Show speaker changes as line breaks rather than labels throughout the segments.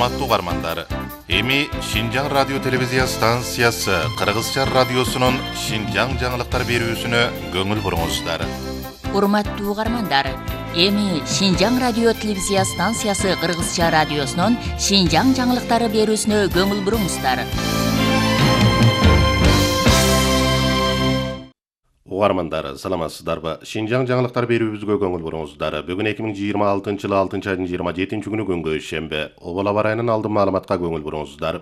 Урматтуу угармандар, эми Шинжаң радио телевизия станциясы Кыргызча радиосунун Шинжаң жаңылыктар берүүсүнө көңүл буруңуздар.
Урматтуу угармандар, эми Шинжаң радио телевизия станциясы Кыргызча радиосунун Шинжаң жаңылыктары берүүсүнө көңүл буруңуздар.
Угармандар, саламатсыздарбы? Шинжаң жаңылыктар берүүбүзгө көңүл буруңуздар. Бүгүн 2026-жылы 6-айдын 27-күнү күнгө шембе. Обол аба ырайынын алдын маалыматка көңүл буруңуздар.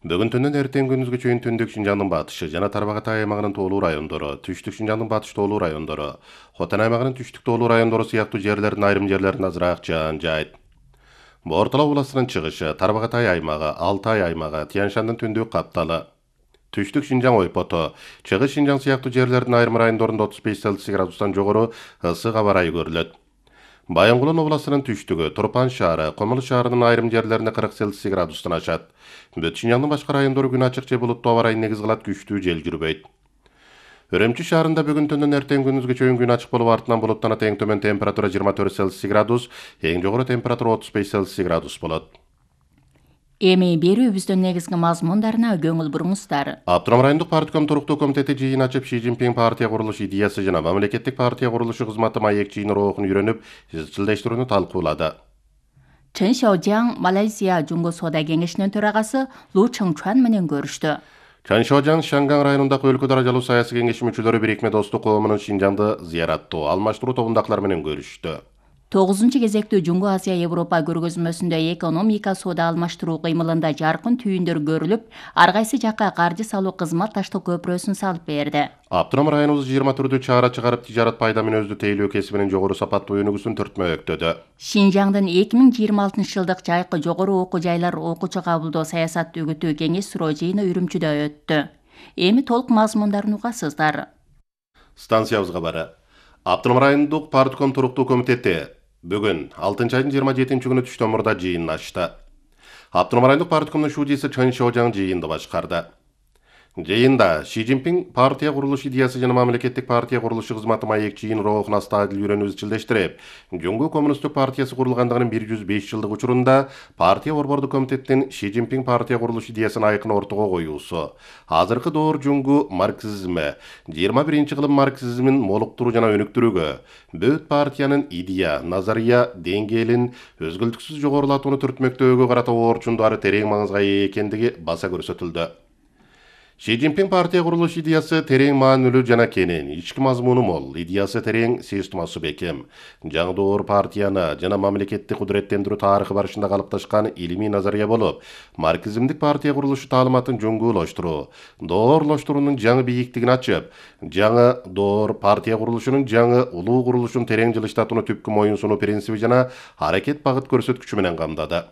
Бүгүн түндөн эртең күндүзгө чейин түндүк Шинжаңдын батышы жана Тарбагатай аймагынын тоолуу райондору, түштүк Шинжаңдын батыш тоолуу райондору, Хотан аймагынын түштүк тоолуу райондору сыяктуу жерлердин айрым жерлеринде азыраак жаан жаайт. Бортала областынын чыгышы, Тарбагатай аймагы, Алтай аймагы, Тянь-Шандын түндүк капталы, Түштүк Шинжаң ойпоту, Чыгыш Шинжаң сыяктуу жерлердин айрым райондорунда 35 градустан жогору ысык аба ырайы көрүлөт. Баянгулдун областынын түштүгү, Турпан шаары, Комул шаарынын айрым жерлеринде 40 градустан ашат. Бүт Шинжаңдын башка райондору күн ачык же булуттуу аба ырайын негиз кылат, күчтүү жел жүрбөйт. Үрөмчү шаарында бүгүн түндөн эртең күндүзгө чейин күн ачык болуп, артынан булуттанат, эң төмөн температура 24 градус, эң жогору температура 35 градус болот.
Эми берүүбүздүн негизги мазмундарына көңүл буруңуздар.
Автоном райондук партком туруктуу комитети жыйын ачып, Ши Цзиньпин партия курулуш идеясы жана мамлекеттик партия курулушу кызматы маек жыйын роохун үйрөнүп, изчилдештирүүнү талкуулады.
Чен Шаожаң Малайзия Жуңгу соода кеңешинин төрагасы Лу Чыңчуан менен көрүштү.
Чен Шаожаң Шанган районундагы өлкө даражалуу саясий кеңеши мүчөлөрү бирикме достук коомунун Шинжаңды зыяраттоо, алмаштыруу тобундагылар менен көрүштү.
9 кезектүү Жуңгу Азия Европа көргөзмөсүндө экономика соода алмаштыруу кыймылында жаркын түйүндөр көрүлүп, ар кайсы жакка каржы салуу кызмат таштоо көпүрөсүн салып берди.
Автоном районубуз 20 түрдүү чара чыгарып, тижарат пайда менен өздү тейлөө кесибинин жогору сапаттуу өнүгүүсүн түртмөктөдү.
Шинжаңдын 2026-жылдык жайкы жогору окуу жайлар окуучу кабылдоо саясат үгүтүү кеңеш суроо жыйыны Үрүмчүдө өттү. Эми толук мазмундарын угасыздар.
Станциябызга бары. Автоном райондук партком туруктуу комитети бүгүн 6-айдын 27-күнү түштөн мурда жыйынын ачты. Автоном райондук парткомдун шуудиси Чен Шаожаң жыйынды башкарды. Жыйында Ши Цзиньпин партия курулуш идеясы жана мамлекеттик партия курулушу кызматы маек жыйын роохун астадыл үйрөнүп изчилдештирип, Жуңгу коммунисттик партиясы курулгандыгынын 105 жылдык учурунда партия борбордук комитеттин Ши Цзиньпин партия курулуш идеясын айкын ортого коюусу, азыркы доор Жуңгу марксизми, 21-кылым марксизмин молуктуруу жана өнүктүрүүгө, бүт партиянын идея, назария деңгээлин өзгөлтүксүз жогорулатууну түртмөктөөгө карата оорчундары терең маңызга ээ экендиги баса көрсөтүлдү. Ши Цзиньпин партия курулуш идеясы терең маанилүү жана кенен, ички мазмуну мол, идеясы терең, системасы бекем. Жаңы доор партияны жана мамлекетти кудуреттендирүү тарыхы барышында калыпташкан илимий назария болуп, марксизмдик партия курулушу таалыматын жоңгуулаштыруу, доорлоштуруунун жаңы бийиктигин ачып, жаңы доор партия курулушунун жаңы улуу курулушун терең жылыштатууну түпкү моюнсунуу принциби жана аракет багыт көрсөткүчү менен камдады.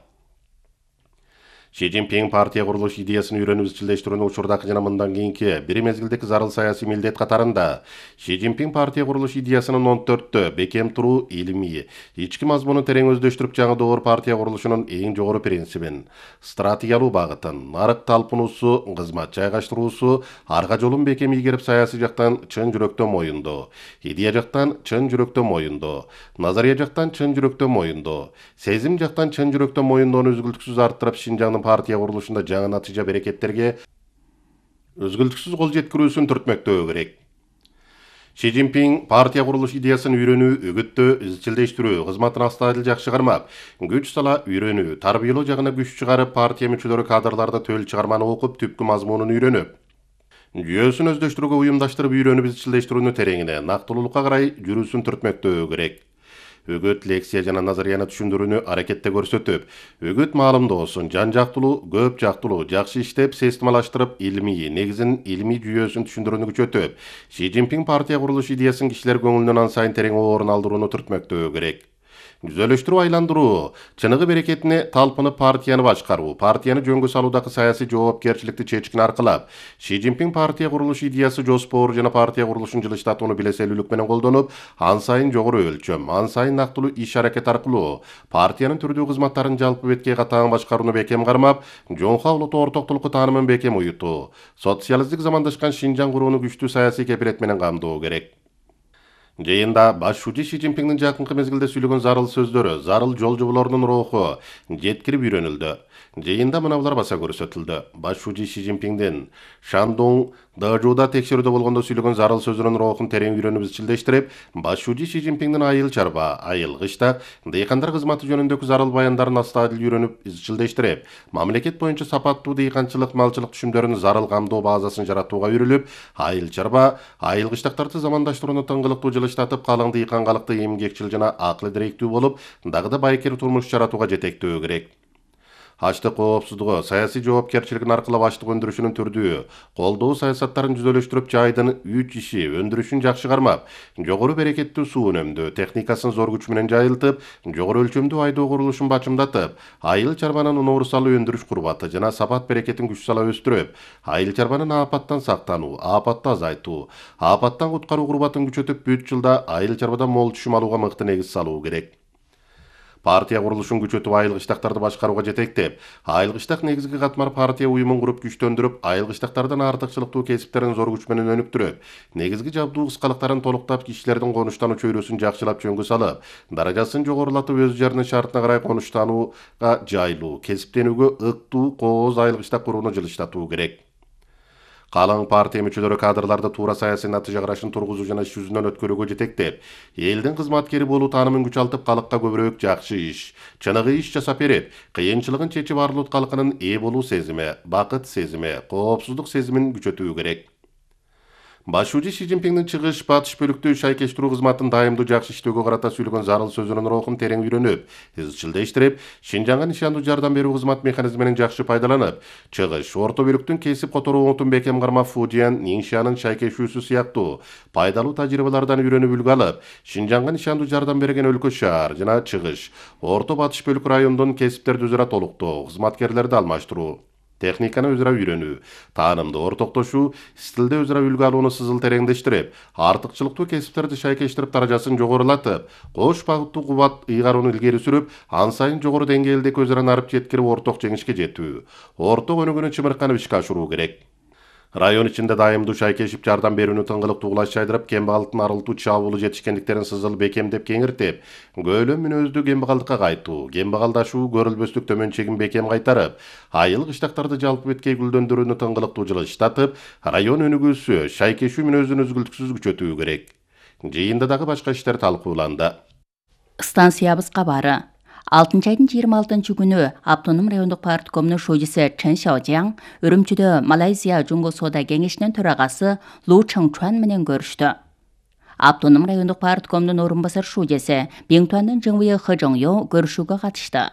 Ши Цзиньпин партия курулуш идеясын үйрөнүп изчилдештирүүнү учурдагы жана мындан кийинки бир мезгилдеги зарыл саясий милдет катарында Ши Цзиньпин партия курулуш идеясынын 14-тө бекем туруу, илимий, ички мазмунун терең өздөштүрүп, жаңы доор партия курулушунун эң жогору принцибин, стратегиялуу багытын, нарык талпынуусу, кызмат жайгаштыруусу, арка жолун бекем ийгерип, саясий жактан чын жүрөктөн моюндоо, идея жактан чын жүрөктөн моюндоо, назария жактан чын жүрөктөн моюндоо, сезим жактан чын жүрөктөн моюндоону өзгөлтүксүз арттырып, Шинжаңдын партия курулушунда жаңы натыйжа берекеттерге өзгөлтүксүз кол жеткирүүсүн түртмөктөө керек. Ши Цзиньпин партия курулуш идеясын үйрөнүү, үгүттөө, изчилдештирүү кызматын астадыл жакшы кармап, күч сала үйрөнүү, тарбиялоо жагына күч чыгарып, партия мүчөлөрү кадрларда төл чыгарманы окуп, түпкү мазмунун үйрөнүп, жүйөсүн өздөштүрүүгө уюмдаштырып, үйрөнүп изчилдештирүүнү тереңине, нактылуулукка карай жүрүүсүн түртмөктөө керек. Үгүт, лекция жана назарияны түшүндүрүүнү аракетте көрсөтүп, үгүт маалымдоосун жан жактылуу, көп жактылуу, жакшы иштеп, системалаштырып, илимий негизин, илимий жүйөсүн түшүндүрүүнү күчөтүп, Ши Цзиньпин партия курулуш идеясын кишилер көңүлүнөн ан сайын терең орун алдырууну түртмөктөө керек. Түзөлүштүрүү, айландыруу, чыныгы берекетине талпынып партияны башкаруу, партияны жөнгө салуудагы саясий жоопкерчиликти чечкин аркылап, Ши Цзиньпин партия курулуш идеясы жоспору жана партия курулушун жылыштатууну билеселүүлүк менен колдонуп, ан сайын жогору өлчөм, ан сайын нактылуу иш-аракет аркылуу партиянын түрдүү кызматтарын жалпы бетке катаң башкарууну бекем кармап, жоңка улуттуу ортоктулукку таанымын бекем уютуу, социалисттик замандашкан Шинжаң курууну күчтүү саясий кепилет менен камдоо керек. Жыйында баш шүүжи Ши Цзиньпиңдин жакынкы мезгилде сүйлөгөн зарыл сөздөрү, зарыл жол жоболорунун руху жеткирип үйрөнүлдү. Жыйында мыналар баса көрсөтүлдү. Баш шүүжи Ши Цзиньпиңдин Шандун Дэжуда текшерүүдө болгондо сүйлөгөн зарыл сөзүнүн рухун терең үйрөнүп изчилдештирип, баш шүүжи Ши Цзиньпиңдин айыл чарба, айыл кыштак, дыйкандар кызматы жөнүндөгү зарыл баяндарын астадыл үйрөнүп изчилдештирип, мамлекет боюнча сапаттуу дыйканчылык, малчылык түшүмдөрүнүн зарыл камдоо базасын жаратууга үйрүлүп, айыл чарба, айыл кыштактарды замандаштырууну тыңгылыктуу жылыштатып, калың дыйкангалыкты эмгекчил жана акыл директүү болуп, дагы да байкер турмуш жаратууга жетектөө керек. Ачлык коопсуздугу, саясий жоопкерчилигин аркылап ачлык өндүрүшүнүн түрдүү, колдоо саясаттарын жүзөлөштүрүп, жайдын үч иши өндүрүшүн жакшы кармап, жогору берекеттүү суу үнөмдөө техникасын зор күч менен жайылтып, жогору өлчөмдүү айдоо курулушун бачымдатып, айыл чарбанын унаурусалы өндүрүш курбаты жана сапат берекетин күч сала өстүрүп, айыл чарбанын апаттан сактануу, апатты азайтуу, апаттан куткаруу курбатын күчөтүп, бүт жылда айыл чарбадан мол түшүм алууга мыкты негиз салуу керек. Партия курулушун күчөтүп, айыл кыштактарды башкарууга жетектеп, айыл кыштак негизги катмар партия уюмун куруп күчтөндүрүп, айыл кыштактардын артыкчылыктуу кесиптерин зор күч менен өнүктүрүп, негизги жабдуу кыскалыктарын толуктап, кишилердин конуштануу чөйрөсүн жакшылап жөнгө салып, даражасын жогорулатып, өз жарынын шартына карай конуштанууга жайлуу, кесиптенүүгө ыктуу кооз айыл кыштак курууну жылыштатуу керек. Калың партия мүчөлөрү кадрларды туура саясий натыйжа карашын тургузуу жана иш жүзүнөн өткөрүүгө жетектеп, элдин кызматкери болуу таанымын күч алтып, калыкка көбүрөөк жакшы иш, чыныгы иш жасап берип, кыйынчылыгын чечип, арлут калкынын ээ болуу сезими, бакыт сезими, коопсуздук сезимин күчөтүү керек. Баш шүүжи Ши Цзиньпиңдин чыгыш батыш бөлүктүү шайкештирүү кызматын дайымдуу жакшы иштөөгө карата сүйлөгөн зарыл сөзүнүн рухун терең үйрөнүп, изчилдештирип, Шинжаңга нишандуу жардам берүү кызмат механизминин жакшы пайдаланып, чыгыш, орто бөлүктүн кесип которуу оңтун бекем карма Фудиан, Ниншанын шайкешүүсү сыяктуу пайдалуу тажрыйбалардан үйрөнүп үлгү алып, Шинжаңга нишандуу жардам берген өлкө шаар жана чыгыш, орто батыш бөлүк райондун кесиптерди өзара толуктоо, кызматкерлерди алмаштыруу, техниканы өзара үйрөнүү, таанымды ортоктошуу, стилде өзара үлгү алууну сызыл тереңдештирип, артыкчылыктуу кесиптерди шайкештирип, даражасын жогорулатып, кош багыттуу кубат ыйгарууну илгери сүрүп, ан сайын жогору деңгээлдеги өзара нарып жеткирип, орток жеңишке жетүү, орток өнүгүүнү чымырканып ишке ашыруу керек. Район ичинде дайымдуу шайкешип, жардам берүүнү тыңгылыктуу кулаш жайдырып, кембагалдын арылтуу чабуулу жетишкендиктерин сызыл бекемдеп кеңиртип, көөлөм мүнөздүү кембагалдыкка кайтуу, кембагалдашуу, көрүлбөстүк төмөн чегин бекем кайтарып, айыл кыштактарды жалпы беткей гүлдөндүрүүнү тыңгылыктуу жылыштатып, район өнүгүүсү, шайкешүү мүнөзүн үзгүлтүксүз күчөтүү керек. Жыйында дагы башка иштер талкууланды.
Станциябыз кабары. 6 айдын 26 күнү Автоном райондук парткомунун шүүжүсү Чен Шаожаң Үрүмчүдө Малайзия Жунго соода кеңешинин төрагасы Лу Чыңчуан менен көрүштү. Автоном райондук парткомунун орун басар шүүжүсү Биңтуандын Жыңвые Хэжоңё көрүшүүгө катышты.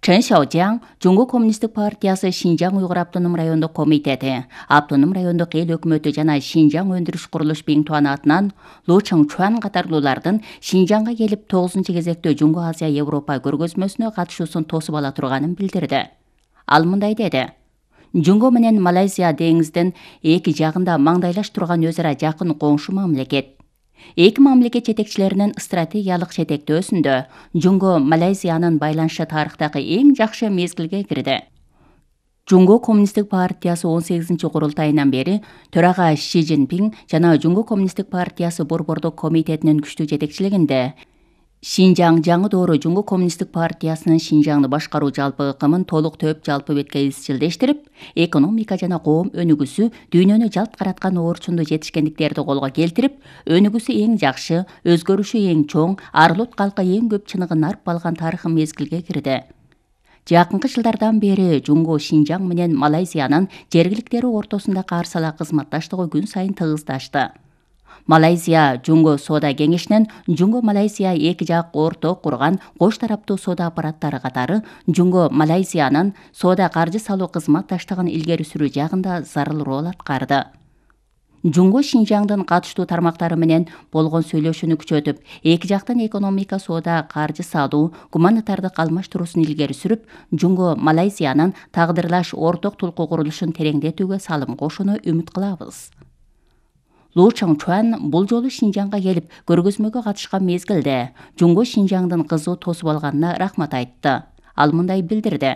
Чен Шаожаң Жунго коммунисттик партиясы Шинжаң уйгур автоном райондук комитети, автоном райондук эл өкмөтү жана Шинжаң өндүрүш курулуш Биңтуан атынан Лу Чыңчуан катарлуулардын Шинжаңга келип 9-кезектүү Жунго Азия Европа көргөзмөсүнө катышуусун тосуп ала турганын билдирди. Ал мындай деди: Жунго менен Малайзия деңиздин эки жагында маңдайлаш турган өзара жакын коңшу мамлекет. Эки мамлекет жетекчилеринин стратегиялык жетектөөсүндө Жунго Малайзиянын байланышы тарыхтагы эң жакшы мезгилге кирди. Жунго коммунисттик партиясы 18-курултайынан бери төрага Ши Цзиньпиң жана Жунго коммунисттик партиясы Борбордук комитетинин күчтүү жетекчилигинде Шинжаң жаңы доору Жунго коммунисттик партиясынын Шинжаңды башкаруу жалпы ыкымын толук төп жалпы бетке изчилдештирип, экономика жана коом өнүгүүсү дүйнөнү жалт караткан орчундуу жетишкендиктерди колго келтирип, өнүгүүсү эң жакшы, өзгөрүшү эң чоң, арылут калкы эң көп чыныгын арып алган тарыхый мезгилге кирди. Жакынкы жылдардан бери Жунго Шинжаң менен Малайзиянын жергиликтери ортосунда карсала кызматташтыгы күн сайын тыгыздашты. Малайзия Жунго соода кеңешинин Жунго Малайзия эки жак орток курган кош тараптуу соода аппараттары катары Жунго Малайзиянын соода каржы салуу кызматташтыгын илгери сүрүү жагында зарыл роль аткарды. Жунго Шинжаңдын катыштуу тармактары менен болгон сүйлөшүүнү күчөтүп, эки жактын экономика, соода, каржы салуу, гуманитардык алмаштыруусун илгери сүрүп, Жунго Малайзиянын тагдырлаш орток тулку курулушун тереңдетүүгө салым кошууну үмүт кылабыз. Лу Чыңчуан бул жолу Шинжаңга келип көргөзмөгө катышкан мезгилде Жунго Шинжаңдын кызуу тосуп алганына рахмат айтты. Ал мындай билдирди: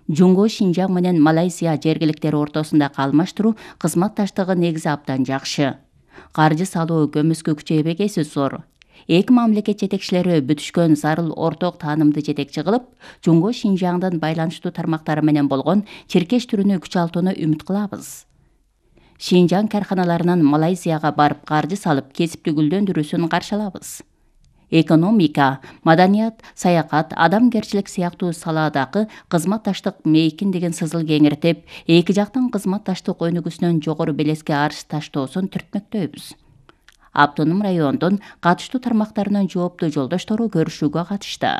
Жунго Шинжаң менен Малайзия жергиликтери ортосунда алмаштыруу кызматташтыгы негизи абдан жакшы. Каржы салуу көмүскө күчөйбөгөсү зор. Эки мамлекет жетекчилери бүтүшкөн зарыл орток таанымды жетекчи кылып, Жумго Шинжаңдын байланыштуу тармактары менен болгон чиркеш түрүнү күчалтууну үмүт кылабыз. Шинжаң карханаларынан Малайзияга барып каржы салып, кесипти гүлдөндүрүүсүн каршы алабыз. Экономика, маданият, саякат, адамгерчилик сыяктуу салаадагы кызматташтык мейкин деген сызыл кеңиртип, эки жактын кызматташтык өнүгүүсүнөн жогору белеске арыз таштоосун түртмөктөйбүз. Автоном райондун катыштуу тармактарынын жооптуу жолдоштору көрүшүүгө катышты.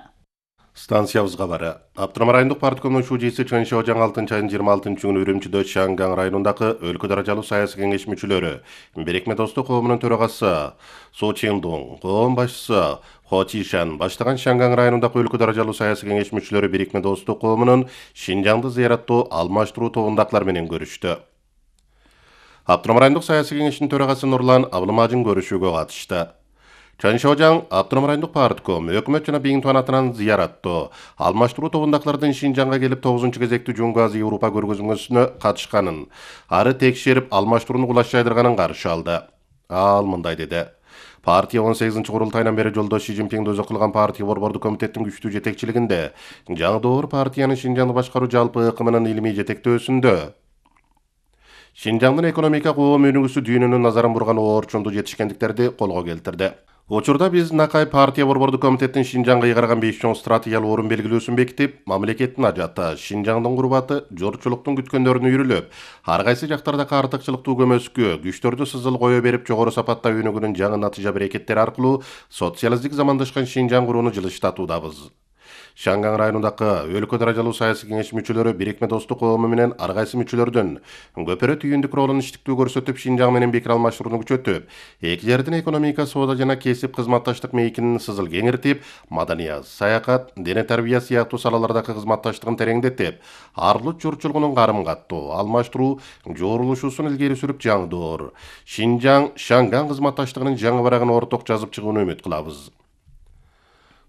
Станциябыз кабары. Автоном райондук парткомдун шужиси Чын Шаожаң 6-айдын 26 күнү Үрүмчүдө Шанган районундагы өлкө даражалуу саясий кеңеш мүчөлөрү, Бирикме Достук коомунун төрагасы Су Чиндун, коом башчысы Хо Чишан баштаган Шанган районундагы өлкө даражалуу саясий кеңеш мүчөлөрү Бирикме Достук коомунун Шинжаңды зыяраттоо алмаштыруу тобундагылар менен көрүштү. Автоном райондук саясий кеңештин төрагасы Нурлан Абылмажин көрүшүүгө катышты. Чын Шаожаң Автоном райондук партком өкмөт жана бийин туан атынан зыяраттоо алмаштыруу тобундагылардын Шинжаңга келип 9-кезектүү Жумгу Азия Европа көргөзмөсүнө катышканын, ары текшерип алмаштырууну кулаш жайдырганын каршы алды. Ал мындай деди. Партия 18-курултайынан бери жолдош Си Цзиньпиңди өзү кылган партия борбордук комитеттин күчтүү жетекчилигинде жаңы доор партиянын Шинжаңды башкаруу жалпы ыкымынын илимий жетектөөсүндө Шинжаңдын экономика коом өнүгүүсү дүйнөнүн назарын бурган оорчундуу жетишкендиктерди колго келтирди. Учурда биз Накай партия борбордук комитеттин Шинжаңга ыйгарган 5 чоң стратегиялык орун белгилөөсүн бекитип, мамлекеттин ажаты, Шинжаңдын курбаты, журтчулуктун күткөндөрүн үйрүлүп, ар кайсы жактардагы артыкчылыктуу көмөскө, күчтөрдү сызыл кое берип жогору сапатта өнүгүүнүн жаңы натыйжа берекеттери аркылуу социалисттик замандашкан Шинжаң курууну жылыштатуудабыз. Шанган районундагы өлкө даражалуу саясий кеңеш мүчөлөрү Бирикме Достук коому менен ар кайсы мүчөлөрдөн көпөрө түйүндүк ролун иштиктүү көрсөтүп, Шинжаң менен пикир алмаштырууну күчөтүп, эки жердин экономика, соода жана кесип кызматташтык мейкинин сызыл кеңиртип, маданият, саякат, дене тарбия сыяктуу салалардагы кызматташтыгын тереңдетип, арлык журтчулугунун карым-каттоо, алмаштыруу жоорулушуусун илгери сүрүп, жаңы доор Шинжаң Шанган кызматташтыгынын жаңы барагын орток жазып чыгууну үмүт кылабыз.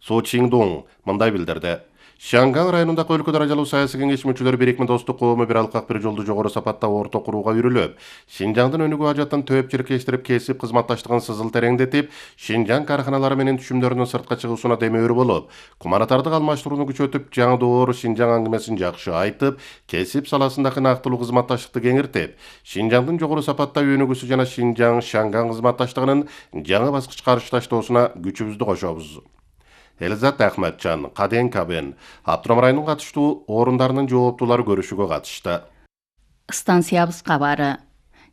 Су Чиндун мындай билдирди. Шанган районундагы өлкө даражалуу саясий кеңеш мүчөлөрү Бирикме Достук коому бир алкак бир жолду жогору сапатта орток курууга үйрүлүп, Шинжаңдын өнүгүү ажатын төп чиркештирип, кесип кызматташтыгын сызыл тереңдетип, Шинжаң карханалары менен түшүмдөрүнүн сыртка чыгуусуна демөөр болуп, куманатардык алмаштырууну күчөтүп, жаңы доор Шинжаң аңгемесин жакшы айтып, кесип саласындагы нактылуу кызматташтыкты кеңиртип, Шинжаңдын жогору сапатта өнүгүүсү жана Шинжаң Шанган кызматташтыгынын жаңы баскычка каршы таштоосуна күчүбүздү кошобуз. Элизат Ахматжан, Каден Кабен, Автоном районунун катыштуу орундарынын жооптуулары көрүшүүгө катышты.
Станциябыз кабары.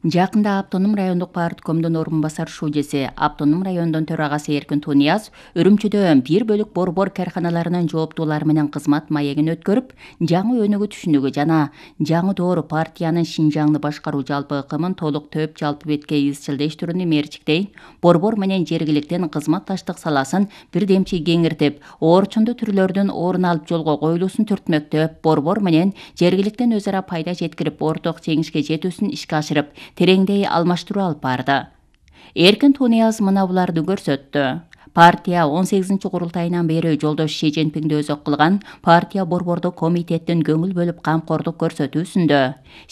Жакында Автоном райондук парткомдун орун басар шужеси, Автоном райондун төрагасы Эркин Тунияз Үрүмчүдө бир бөлүк борбор карханаларынын жооптуулары менен кызмат маегин өткөрүп, жаңы өнүгүү түшүнүгү жана жаңы доор партиянын Шинжаңды башкаруу жалпы ыкымын толук төп жалпы бетке изчилдештирүүнү мерчиктей, борбор менен жергиликтин кызматташтык саласын бирдемчи кеңиртип, оорчундуу түрлөрдүн орун алып жолго коюлуусун түртмөктөп, борбор менен жергиликтин өз ара пайда жеткирип, орток жеңишке жетүүсүн ишке ашырып, тереңдей алмаштыруу алып барды. Эркин Тунияз мына буларды көрсөттү. Партия 18-курултайынан бери жолдош Си Цзиньпиңди өзү кылган партия борбордук комитеттин көңүл бөлүп камкордук көрсөтүүсүндө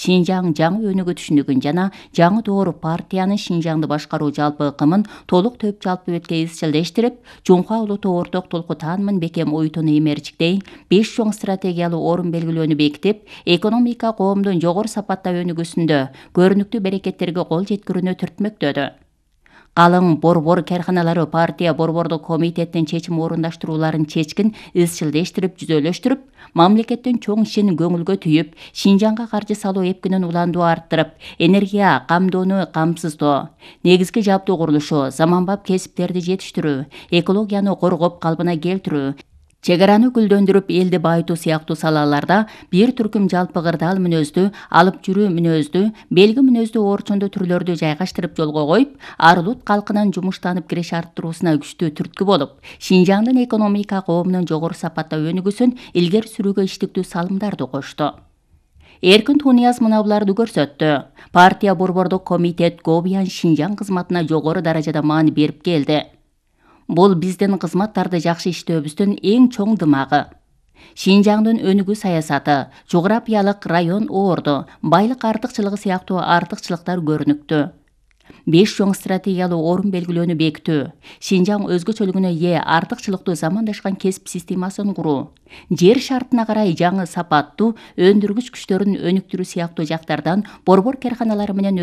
Шинжаң жаңы өнүгүү түшүнүгүн жана жаңы доор партиянын Шинжаңды башкаруу жалпы ыкымын толук төп жалпы бетке изчилдештирип, Жумха улуттуу орток толку таанымын бекем уютууну имерчиктей 5 чоң стратегиялык орун белгилөөнү бекитип, экономика коомдун жогору сапатта өнүгүүсүндө көрүнүктүү берекеттерге кол жеткирүүнү түртмөктөдү. Калың борбор карханалары партия борбордук комитеттин чечим орундаштырууларын чечкин изчилдештирип, жүзөлөштүрүп, мамлекеттин чоң ишин көңүлгө түйүп, Шинжаңга каржы салуу эпкинин уландуу арттырып, энергия камдоону камсыздоо, негизги жабдуу курулушу, заманбап кесиптерди жетиштирүү, экологияны коргоп калпына келтирүү, чек араны гүлдөндүрүп, элди байытуу сыяктуу салаларда бир түркүм жалпы кырдаал мүнөздүү, алып жүрүү мүнөздүү, белги мүнөздүү оорчундуу түрлөрдү жайгаштырып жолго коюп, ар улут калкынын жумуштанып киреш арттыруусуна күчтүү түрткү болуп, Шинжаңдын экономика коомунун жогору сапатта өнүгүүсүн илгери сүрүүгө иштиктүү салымдарды кошту. Эркин Тунияз мына буларды көрсөттү. Партия борбордук комитет Гобиян Шинжаң кызматына жогору даражада маани берип келди. Бул биздин кызматтарды жакшы иштөөбүздүн эң чоң дымагы. Шинжаңдын өнүгүү саясаты, жографиялык район орду, байлык артыкчылыгы сыяктуу артыкчылыктар көрүнүктүү. 5 чоң стратегиялуу орун белгилөөнү бекитүү, Шинжаң өзгөчөлүгүнө ээ артыкчылыктуу замандашкан кесип системасын куруу, жер шартына карай жаңы сапаттуу өндүргүч күчтөрүн өнүктүрүү сыяктуу жактардан борбор карканалары менен